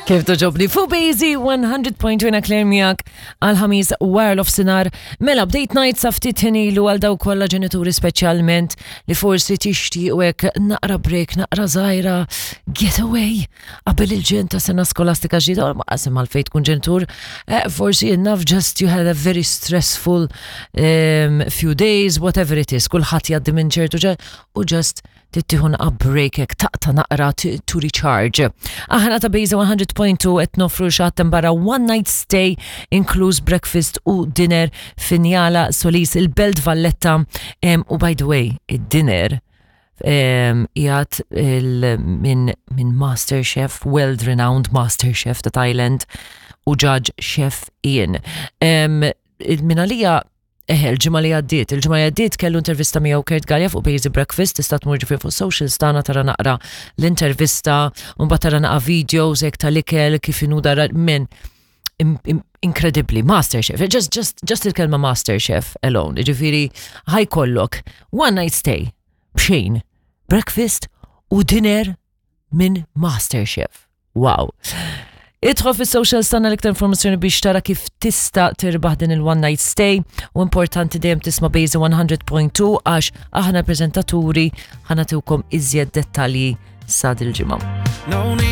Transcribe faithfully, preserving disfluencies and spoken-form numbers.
Kif togħġobni? Fuq Bejzi one hundred point two Claire miegħek għal-Ħamis wara nofsinhar. Mela, bdejt ngħid sa ftit ilu għal dawk kollha ġenituri speċjalment li forsi tixtiequ hekk naqra break, naqra żgħira, getaway qabel il-ġen ta' sena skolastika ġdida, ma qasem għalfejn tkun ġenitur, eh, forsi enough just you had a very stressful um, few days, whatever it is, kulħadd jgħaddi minn ċertu ġe u just tittieħu naqra break hekk taqta' naqra to to recharge. Aħna ta' Bejza one hundred point two qed nofru xatten barra one night stay inkluż breakfast u dinner fi Nyala Solis, il-Belt Valletta. um, u by the way, id-dinner um, jgħat minn min Master Chef, world renowned Master Chef ta' Thailand u judge Chef Ian. Um, min għalija Eħe, il-ġimgħa li għaddiet, il-ġimgħa li għaddiet kellu intervista miegħu Kurt Galea fuq Bejzi Breakfast, tista' tmur ġifieri fuq socials tagħna tara naqra l-intervista, u mbagħad tara naqra videos hekk tal-ikel kif inhu dara minn incredibly Master Chef, just just just il-kelma Master Chef alone, ġifieri ħa jkollok one night stay b'xejn, breakfast u dinner minn Master Chef. Wow. Idħol fis social tagħna l-iktar informazzjoni biex tara kif tista' tirbaħ din il-one night stay u importanti dejjem tisma' Bejzi one hundred point two għax aħna prezentaturi ħa nagħtukom iżjed dettalji sa dil-ġimgħa. No need